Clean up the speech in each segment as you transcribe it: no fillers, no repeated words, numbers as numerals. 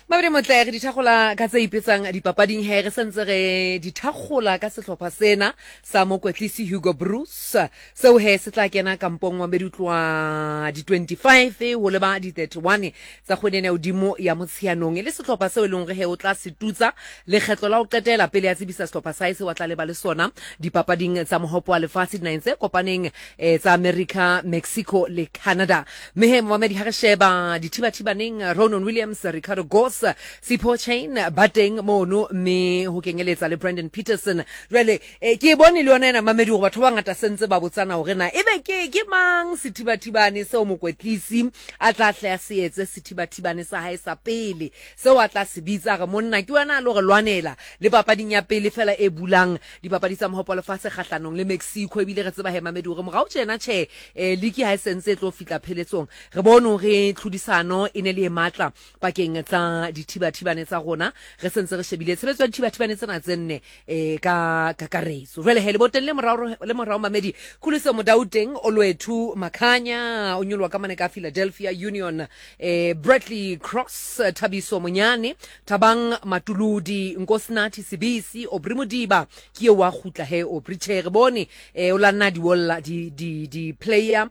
Mabedi motle re dithakgola ka tse ipetsang dipapading he re sentse re dithakgola ka sehlopha sena sa mokwetlisi Hugo Broos seo he se tla kena kampong wa medutloa di 25 ho leba di 31 tsa kgwedi ena ya hodimo ya Motsheanong e le sehlopha seo e leng hore he o tla se tutsa lekgetlo la ho qetela pele a tsebisa sehlopha sa hae seo a tla leba le sona dipapading tsa mohopo wa lefatshe dinaheng tse kopaneng eh, tsa America, Mexico le Canada. Mme he momamedi ha re sheba dithibathibaneng Ronan Williams, Ricardo Goss, Sipho Chain ba teng mono mme ho kenyeletsa le Brandon Peterson. Jwale eh, ke e bone le yona ena mamedi hore batho ba bangata sentse ba botsana hore na ebe ke ke mang sethibathibane seo mokwetlisi a tla hle a se etse sethibathibane sa hae sa pele seo a tla se bitsa re monna ke wena a lo re lwanela le papading ya pele fela e bulang dipapadi tsa mohopo wa lefatshe kgahlanong le Mexico. Ebile re tseba he mamedi hore morao tjena tjhe eh, liki ha e sentse e tlo fihla pheletsong re bone hore tlhodisano e ne le e matla pakeng tsa dithibathibane tsa rona re sentse re shebile tshebetso ya dithibathibane tsena tse nne eh, ka kakaretso. Jwale he leboteng le morao le morao mamedi Khuliso Modau teng Olwethu Makhanya o nyoloha ka mane ka Philadelphia Union eh, Bradley Cross Thabiso Monyane Thabang Matuludi Nkosinathi Sibisi Aubrey Modiba ke eo wa kgutla he Aubrey tjhe re bone eh, o la nna di wolla di di di player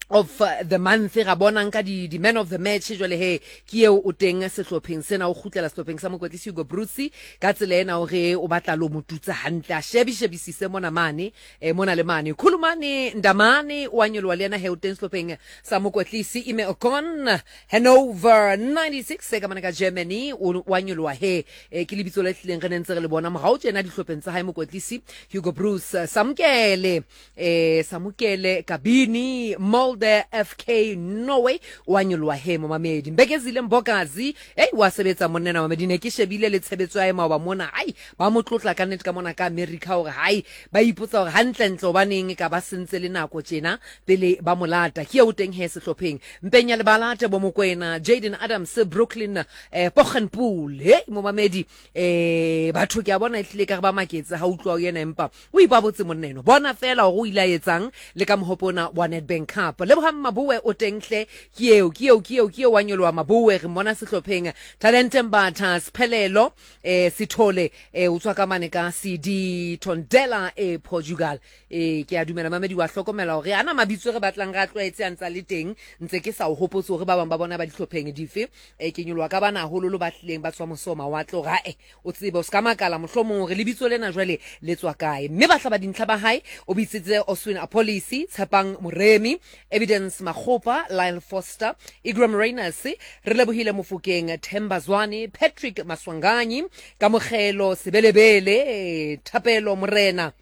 of the month ga bona nka di, di man of the match jwale he ke eo o teng sehlopheng sena o kgutlela sehlopheng sa mokwetlisi Hugo Broos ka tsela ena hore o batla lo motutsa hantle a shebi shebisise mona mane eh, mona le mane Khulumane Ndamane o a nyoloha le yena he o teng sehlopheng sa mokwetlisi Ime Okon Hanover 96 e ka mane ka Germany o wa nyoloha he eh, ke lebitso le tlileng re ne ntse re le bona morao tjena dihlopheng tsa hae mokwetlisi Hugo Broos Samkele eh Samukele Kabini Molde FK Norway wa nyoloha he momamedi Mbekezile Mbokazi hey wa sebetsa monnena mamedi ne ke shebile le tshebetso ya maoba mona ai ba mo tlotla ka nnete ka mona ka America hore hai ba ipotsa hore hantlentle hobaneng ka ba sentse le nako tjena pele ba molata ke eo teng he sehlopheng mpeng ya lebala Tebo Mokoena Jaden Adams Brooklyn eh, Pochenpool hey momamedi eh batho ke a bona ehlile ka re ba maketse ha utlwa o yena empa O ipabotse monna eno. Bona feela hore o ile a etsang le ka mohope ona wa Nedbank Cup. Lebohang Maboe o teng hle. Ke eo, ke eo, ke eo, ke eo wa nyoloha Maboe. Re mmona sehlopheng. Talente Mbatha, Sphelelo, eh, Sithole, eh, o tswa ka mane ka CD Tondela e Portugal. Eh, ke a dumela mamedi wa hlokomela hore ana mabitso re batlang re a tlwaetse a ntsa le teng. Ntse ke sa o hopotse hore ba bang ba bona ba dihlopheng dife. Eh, ke nyoloha ka bana hahololo ba hlileng ba tswa mose ho mawatle hore ae O tsebe, o se ka makala mohlomong hore lebitso lena jwale le tswa kae. Mme bahlabadintlha ba hae o bitsitse Oswin Appollis, Tshepang Moremi, Evidence Makgopa, Lyle Foster, Igram Rayners, Relebohile Mofokeng, Themba Zwane, Patrick Maswanganyi, Kamogelo Sebelebele, Thapelo Morena,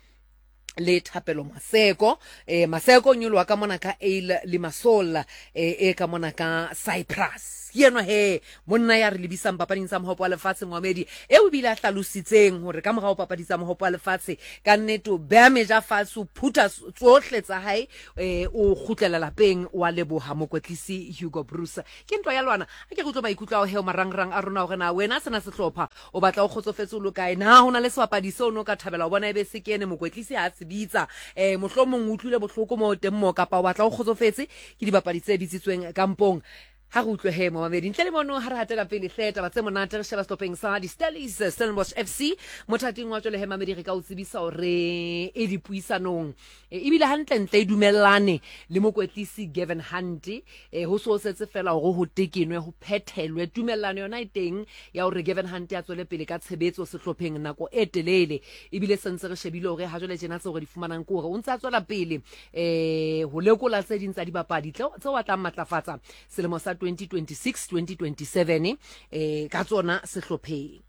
le Thapelo Maseko. Eh, Maseko o nyoloha ka mona ka Ale Limassol eh, e ka mona ka Cyprus. Ke enwa he monna ya re lebisang papading tsa mohopo wa lefatshe Mohamedi eo ebile a hlalositseng hore ka morao papadi tsa mohopo wa lefatshe ka nnete o beha meja fatshe o phutha tsohle tsa hae eh, o kgutlela lapeng wa leboha mokwetlisi Hugo Broos. Ke ntwa ya lwana a ke re utlwe maikutlo ao he o marangrang a rona hore na wena sena sehlopha O batla o kgotsofetse o lo kae? Na ho na le sebapadi seo o ne o ka thabela ho bona ebe se kene mokwetlisi ha a se bitsa? Um mohlomong o utlwile bohloko moo teng moo, kapa o batla o kgotsofetse ke dibapadi tse bitsitsweng kampong? Ha re utlwe he momamedi. Ntle le mono ha re hatela pele hle taba tse monate re sheba sehlopheng sa di-Stellies Stellenbosch FC mothating wa jwale he mamedi re ka o tsebisa hore e dipuisanong e, ebile hantlentle e dumellane le mokwetlisi Gavin Hunt E, ho so setse fela hore ho tekenwe, ho phethelwe. Tumellano yona e teng ya hore Gavin Hunt a tswele pele ka tshebetso sehlopheng nako e telele. Ebile se ntse re shebile hore ha jwale tjena tseo re di fumanang ke hore o ntse a tswela pele eh ho lekola tse ding tsa dibapadi tseo a tlang matlafatsa selemo sa 2026 2027 eh ka tsona sehlopheng.